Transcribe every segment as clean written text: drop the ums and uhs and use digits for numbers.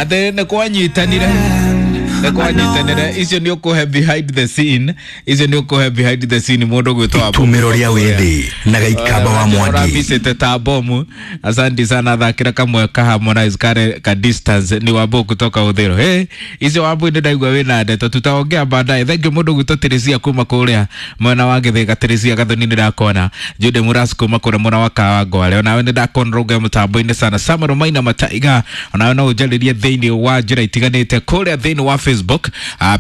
Atĩ nĩ kwanyitanire, nĩ kwanyitanire. Icio nĩ ũkũhe behind the scene, icio nĩ ũkũhe behind the scene mũndũ gwĩtwo Wambo. Itumĩro rĩa wĩthĩ na Gaikamba wa Mwangi. Ũrambicĩte ta bomu. Asante sana, thakĩra kamwe ka Harmonize kare ka Distance. Ni Wambo kutoka Uthero. Hey, icio Wambo nĩ ndaigua wĩna ndeto, tutaongea baadaye. Thank you mũndũ gwĩtwo Teresia kuma kũrĩa mwena wa Gĩthĩga. Teresia Gathoni nĩ ndakona. Jude Muras kuma kũrĩa mwena wa Kawangware, onawe nĩ ndakona rũnga mũtambo-inĩ sana. Samuel Maina Mataiga, onawe no ũnjarĩrie thĩinĩ wa njĩra itiganĩte kũrĩa thĩinĩ wa Facebook.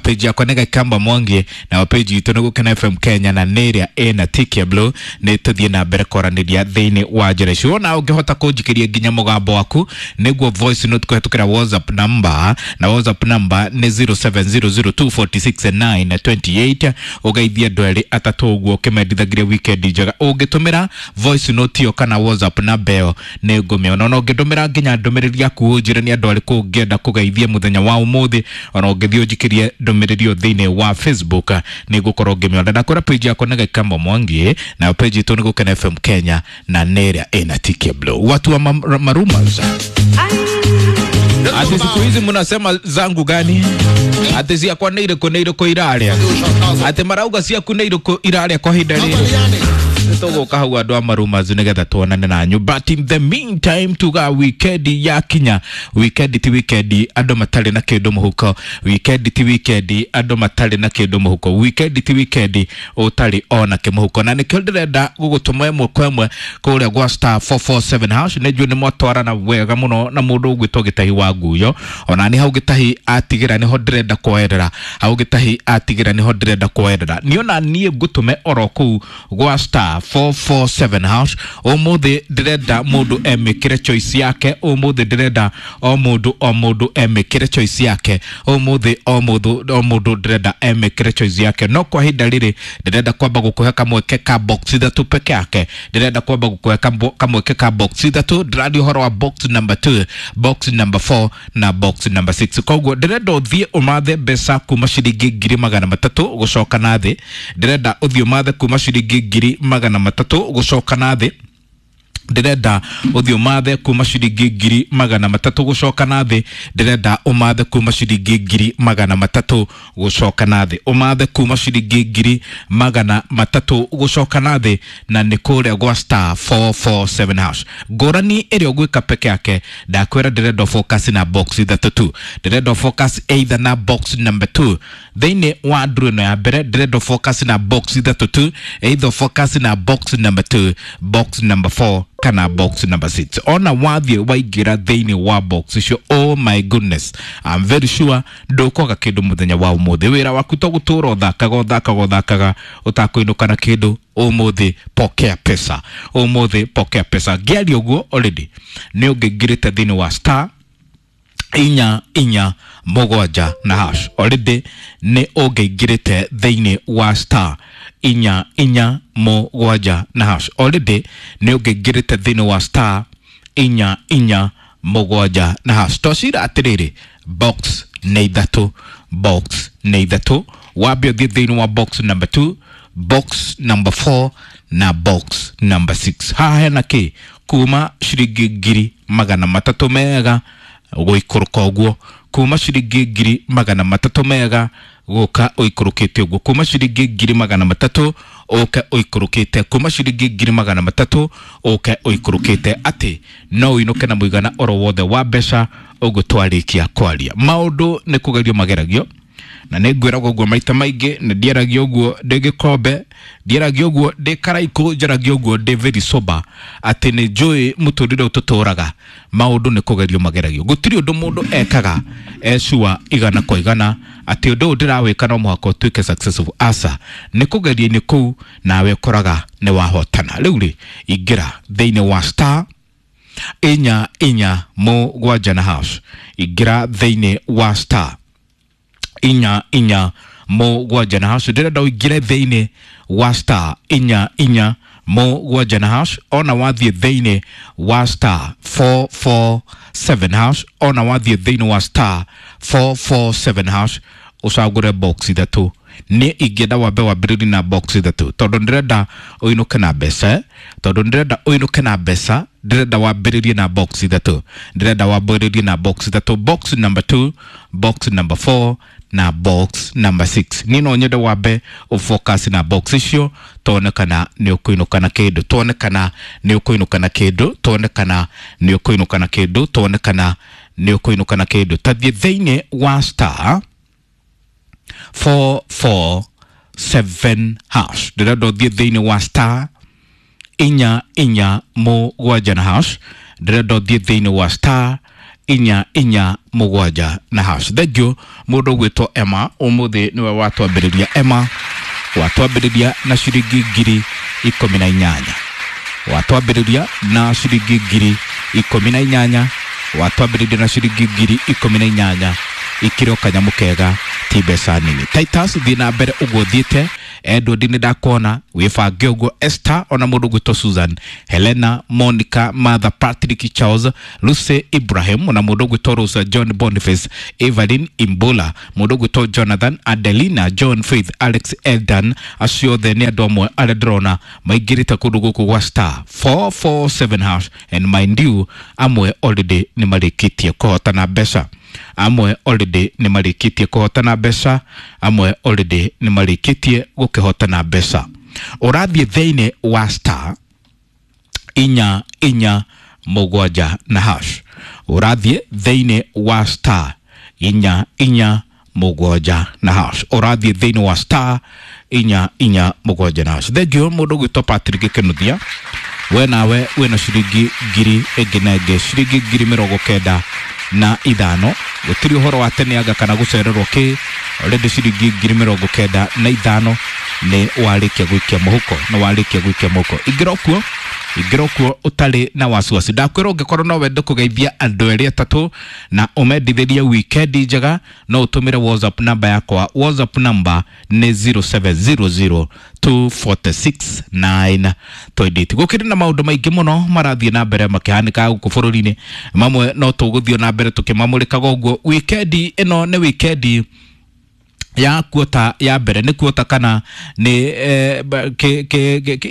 Page yakwa nĩ Gaikamba Mwangi, na page itũ nĩ Gũkena FM Kenya, na nĩ ĩrĩa ĩna tick ya blue. Nĩ tũthiĩ na mbere kwaranĩria thĩinĩ wa njĩra icio. Ona ũngĩhota kũnjikĩria nginya mũgambo waku nĩguo voice note kũhetũkĩra WhatsApp number, na WhatsApp number nĩ 0700246928, ũgeithie andũ erĩ atatũ ũguo ũkĩmendithagiria weekend njega. Ũngĩtũmĩra voice note ĩyo kana WhatsApp namba ĩyo nĩ ngũmĩona. Ona ũngĩndũmĩra nginya ndũmĩrĩri yaku ũnjĩre nĩ andũ arĩkũ ũngĩenda kũgeithia mũthenya wa ũmũthĩ, ona ũngĩthiĩ ũnjikĩrie ndũmĩrĩri ĩyo thĩinĩ wa Facebook nĩ ngũkorwo ngĩmĩona. Na kũrĩa page yakwa nĩ Gaikamba Mwangi, na page itũ nĩ Gũkena FM Kenya, na nĩ ĩrĩa ĩna tick ya blue. Watu wa marumas, ati siku hizi mnasema zangu gani? Ati ciakwa nĩ irĩkũ, nĩ irĩkũ irarĩa? Ati marauga ciaku nĩ irĩkũ irarĩa kwa ihinda rĩrĩ? Tũgũka hau andũ a marumazu nĩgetha tuonane nanyu, but in the meantime tuga weekend yakinya, weekend ti weekend andũ matarĩ na kĩndũ mũhuko, weekend ti weekend andũ matarĩ na kĩndũ mũhuko, weekend ti weekend ũtarĩ ona kĩmũhuko. Na nĩkĩo ndĩrenda gũgũtũma ĩmwe kwa ĩmwe kũrĩa gwa *447 hash. Nĩ njũĩ nĩ mwatwarana wega mũno na mũndũ ũgwĩtwo Gĩtahi wa Nguyo. Ona nĩ hau Gĩtahi atigĩra nĩho ndĩrenda kwoerera, hau Gĩtahi atigĩra nĩho ndĩrenda kwoerera. Niĩ ona niĩ ngũtũme oro kũu gwa *447 hash. Ũmũthĩ ndĩrenda mũndũ emĩkĩre choice yake. Ũmũthĩ ndĩrenda o mũndũ, o mũndũ emĩkĩre choice yake. Ũmũthĩ o mũndũ, o mũndũ ndĩrenda emĩkĩre choice yake. No kwa ihinda rĩrĩ ndĩrenda kwamba gũkũhe kamweke ka box ithatũ peke yake. Ndĩrenda kwamba gũkũhe kamweke ka box ithatũ. Ndĩraria ũhoro wa box number 2, box number 4 na box number 6. Koguo ndĩrenda ũthiĩ ũmathe mbeca kuma ciringi 300,000 gũcoka na thĩ. Ndĩrenda ũthiĩ ũmathe kuma ciringi 300,000 gũcoka na thĩ. Ndĩrenda ũthiĩ ũmathe kuma ciringi 300,000 gũcoka na thĩ. Ndĩrenda ũmathe kuma ciringi 300,000 gũcoka na thĩ, ũmathe kuma ciringi 300,000 gũcoka na thĩ, na nĩ kũrĩa gwa *447 hash. Ngũrani ĩrĩa ũgwĩka peke yake, ndakwĩra ndĩrenda focus na box ithatũ tu. Ndĩrenda focus either na box number 2 thĩinĩ wa nduru ĩno ya mbere. Ndĩrenda focus na box ithatũ tu, either focus na box number 2, box number 4 kana box number 6. Ona wathiĩ waingĩra thĩinĩ wa box icio, oh my goodness, I'm very sure ndũkwaga kĩndũ mũthenya wa ũmũthĩ. Wĩra waku to gũtũra ũthakaga, ũthakaga, ũthakaga ũtakũinũka na kĩndũ. Ũmũthĩ pokea pesa, ũmũthĩ pokea pesa. Ngĩaria ũguo already nĩ ũngĩingĩrĩte thĩinĩ wa *447 na hash. Already nĩ ũngĩingĩrĩte thĩinĩ wa *447 na hash. Already nĩ ũngĩingĩrĩte thĩinĩ wa *447 na hash. Tocira atĩrĩrĩ, box nĩ ithatũ, box nĩ ithatũ. Wambe ũthiĩ thĩinĩ wa box number 2, box number 4 na box number 6. Haha hena kĩ? Kuma ciringi 300,000 mega gũikũrũka ũguo, kuma ciringi 300,000 mega gũka ũikũrũkĩte ũguo, kuma ciringi 300,000 ũke ũikũrũkĩte, kuma ciringi 300,000 ũke ũikũrũkĩte, atĩ no ũinũke na mũigana oro wothe wa mbeca ũguo twarĩkia kwaria. Maũndũ nĩ kũgerio mageragio, na nĩ ngwĩragwo ũguo maita maingĩ. Nĩ ndiaragia ũguo ndĩ gĩkombe, ndiaragia ũguo ndĩ karaikũ, njaragia ũguo ndĩ very sober, atĩ nĩ njũĩ mũtũrĩre ũyũ tũtũraga maũndũ nĩ kũgerio mageragio. Gũtirĩ ũndũ mũndũ ekaga ecua igana kwa igana atĩ ũndũ ũyũ ndĩrawĩka no mũhaka ũtuĩke successful. Aca, nĩ kũgeria-inĩ kũu nawe ũkoraga nĩ wahotana. Rĩu rĩ, ingĩra thĩinĩ wa *447 na hash. Ingĩra thĩinĩ wa *447 na hash. Ndĩrenda ũingĩre thĩinĩ wa *447 na hash. Ona wathiĩ thĩinĩ wa *447 hash, ona wathiĩ thĩinĩ wa *447 hash, ũcagũre box ithatũ. Nĩ ingĩenda wambe wambĩrĩrie na box ithatũ tondũ ndĩrenda ũinũke na mbeca, tondũ ndĩrenda ũinũke na mbeca. Ndĩrenda wambĩrĩrie na box ithatũ, ndĩrenda wambĩrĩrie na box ithatũ, box number 2, box number 4 na box number 6. Niĩ no nyende wambe ũfocus na box icio, tuone kana nĩ ũkũinũka na kĩndũ, tuone kana nĩ ũkũinũka na kĩndũ, tuone kana nĩ ũkũinũka na kĩndũ, tuone kana nĩ ũkũinũka na kĩndũ. Tathiĩ thĩinĩ wa star 447 hash, ndĩrenda ũthiĩ thĩinĩ wa star 447 na hash, ndĩrenda ũthiĩ thĩinĩ wa star 447 na hash. Thengiũ mũndũ ũgwĩtwo Emma, ũmũthĩ nĩwe watwambĩrĩria. Emma watwambĩrĩria na ciringi 18,000, watwambĩrĩria na ciringi 18,000, watwambĩrĩria na ciringi 18,000. Ikĩrĩ o kanyamũ kega, ti mbeca nini. Titus, thiĩ na mbere ũguo ũthiĩte. Edward, nĩ ndakuona, wĩbange ũguo. Esther, ona mũndũ ũgwĩtwo Susan, Helena, Monica, Martha, Patrick, Charles, Lucy, Ibrahim, ona mũndũ ũgwĩtwo Rosa, John, Boniface, Evelyn Imbola, mũndũ ũgwĩtwo Jonathan, Adelina, John, Faith, Alex, Eldan, acio othe nĩ andũ amwe arĩa ndĩrona maingĩrĩte kũndũ gũkũ gwa star 447 hash. And mind you, amwe already nĩ marĩkĩtie kũhotana mbeca, amwe already nĩ marĩkĩtie kũhotana mbeca, amwe already nĩ marĩkĩtie gũkĩhotana mbeca. Ũrathiĩ thĩinĩ wa star 447 na hash, ũrathiĩ thĩinĩ wa star 447 na hash, ũrathiĩ thĩinĩ wa star 447 na hash. Thengiũ mũndũ ũgwĩtwo Patrick Kĩnuthia, we nawe wĩna ciringi ngiri ĩngĩ na ĩngĩ, ciringi 95,000. Gũtirĩ ũhoro wa tene anga kana gũcererwo kĩ, already ciringi 95,000 nĩ warĩkia gũikia mũhuko, nĩ warĩkia gũikia mũhuko. Ingĩra kuo, ingĩra kuo ũtarĩ na wasiwasi. Ndakwĩra ũngĩkorwo no wende kũgeithia andũ erĩ atatũ na ũmendithĩrie wikendi njega, no ũtũmĩre WhatsApp namba yakwa. WhatsApp namba nĩ 0700 246 928. Gũkĩrĩ na maũndũ maingĩ mũno marathiĩ na mbere makĩhanĩka gũkũ bũrũri-inĩ, mamwe no tũgũthiĩ na mbere tũkĩmamũrĩkaga ũguo. Wikendi ĩno nĩ wikendi ya kuota ya mbere, nĩ kuota kana nĩ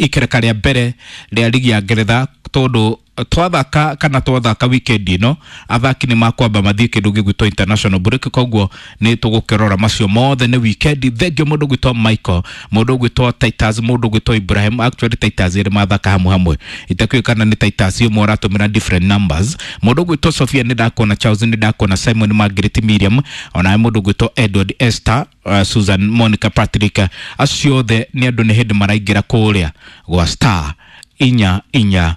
ikereka rĩa mbere rĩa ligi ya Ngeretha, tondũ twathaka kana twathaka weekend ĩno athaki nĩ makwamba mathiĩ kĩndũ gĩgwĩtwo international break, koguo nĩ tũgũkĩrora macio mothe nĩ weekend. Thengio mũndũ ũgwĩtwo Michael, mũndũ ũgwĩtwo Titus, mũndũ ũgwĩtwo Ibrahim. Actually Titus erĩ mathaka hamwe hamwe, itakĩũĩ kana nĩ Titus ũmwe ũratũmĩra different numbers. Mũndũ ũgwĩtwo Sophia nĩ ndakuona, Charles nĩ ndakuona, Simon, Margaret, Miriam, onawe mũndũ ũgwĩtwo Edward, Esther, Susan, Monica, Patrick, acio othe nĩ andũ nĩ hĩndĩ maraingĩra kũrĩa gwa star 447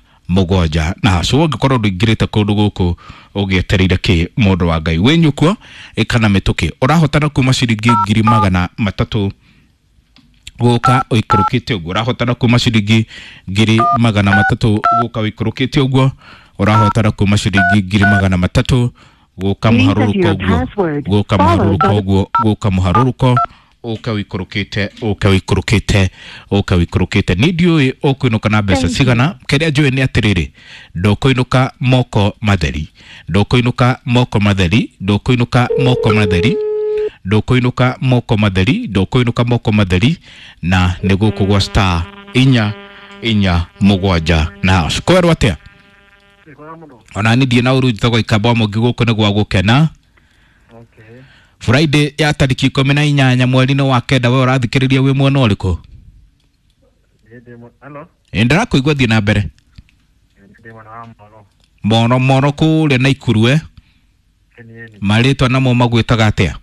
na hacu. Ũngĩkorwo ndũingĩrĩte kũndũ gũkũ, ũgĩetereire kĩ, mũndũ wa Ngai? Wĩnyũkuo ĩkana mĩtũkĩ, ũrahotana kuma ciringi 300,000 gũka ũikũrũkĩte ũguo, ũrahotana kuma ciringi 300,000 gũka ũikũrũkĩte ũguo, ũrahotana kuma ciringi 300,000 gũka mũharũrũko ũguo, gũka mũharũrũko ũguo, gũka mũharũrũko, ũke ũikũrũkĩte, ũke ũikũrũkĩte, ũke ũikũrũkĩte. Niĩ ndiũĩ ũkũinũka na mbeca cigana. Kĩrĩa njũĩ nĩ atĩrĩrĩ, ndũkũinũka moko matheri, ndũkũinũka moko matheri, ndũkũinũka moko matheri, ndũkũinũka moko matheri, ndũkũinũka moko matheri. Na nĩ gũkũ gwa star 447 na hash. Kwerwo atĩa? Ona niĩ ndiĩ na ũru, njĩtagwo Ikamba wa Mũngĩ, gũkũ nĩ gwa gũkena. Friday ya tarĩki 18 mweri-inĩ wa 9, we ũrathikĩrĩria wĩ mwena ũrĩkũ? Ĩ, ndĩrakũigua, thiĩ na mbere. Moro moro kũrĩa Naikuru, marĩtwa namo magwĩtaga atĩa?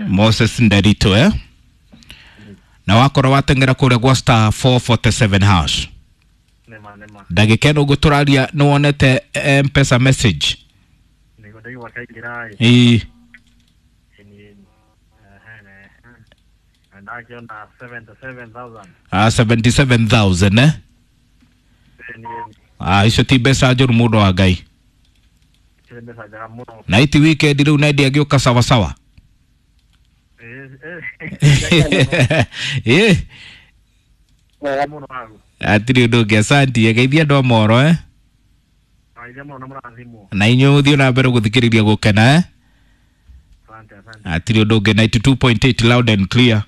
Moses Nderito, na wakorwo wateng'era kũrĩa gwa star 447 hash ndagĩka ĩno ũguo tũraria, nĩ wonete M-Pesa message? Ĩĩ. Ah, 77,000, eh? Ah, icio ti mbeca njũru, mũndũ wa Ngai, na iti weekend rĩu na agĩũka sawa sawa. Ĩ, hatirĩ ũndũ ũngĩ, asanti. Geithia andũ a moro, eh? Na inyuĩ mũthiĩ na mbere gũthikĩrĩria gũkena, eh? Hatirĩ ũndũ ũngĩ. 92.8, loud and clear.